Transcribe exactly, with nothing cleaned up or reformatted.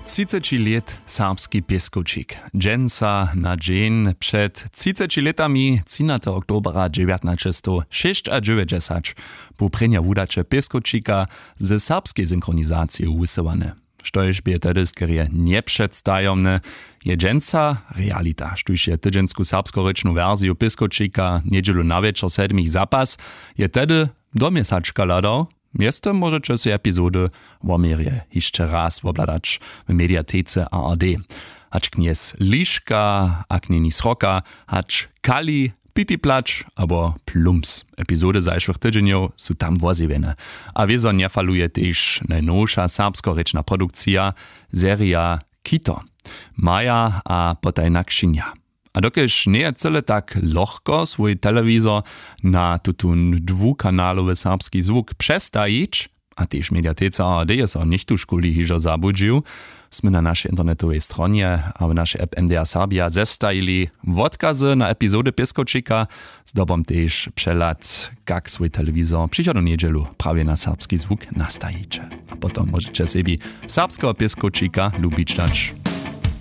Třiceći lět serbski pěskowčik. Dźensa na dźeń před třiceći lětami, třinateho oktobra dźewjatnaćestow šěsćadźewjećdźesać, bu prěnja wudaće pěskowčika ze serbskej synchronizacije wusyłane. Štož bě tehdy skerje njepředstajomne, je dźensa realita, štóž je tydźensku serbskorěčnu wersiju pěskowčika njedźelu na wječor sedmich zapas, je tehdy do měsačka hladał. Mjeztym móžeće sej epizody wo měrje hišće raz wobhladać w mediatece A R D. Hač knjez Liška, a knjeni Sroka, hač Kali, Piti Plać abo Plums. Epizody zašłych tydźenjow su tam wozjewjene. A wězo njefaluje tež najnowša serbskorěčna produkcija, serija Kito. Maja a potajna křinja. A dokelž njeje cyle tak lochko swój telewizor na tutón dwukanalowy serbski zwuk přestajić, a tež mediateca A R D je so něchtužkuli hižo zabudźił, smy na našej internetowej stronje a w našej app M D R Serbia zestajili wotkazy na epizody pěskowčika, zdobom tež přehlad, kak swój telewizor přichodnu njedźelu prawje na serbski zwuk nastajiće. A potom móžeće sebi serbskeho pěskowčika lubić dać.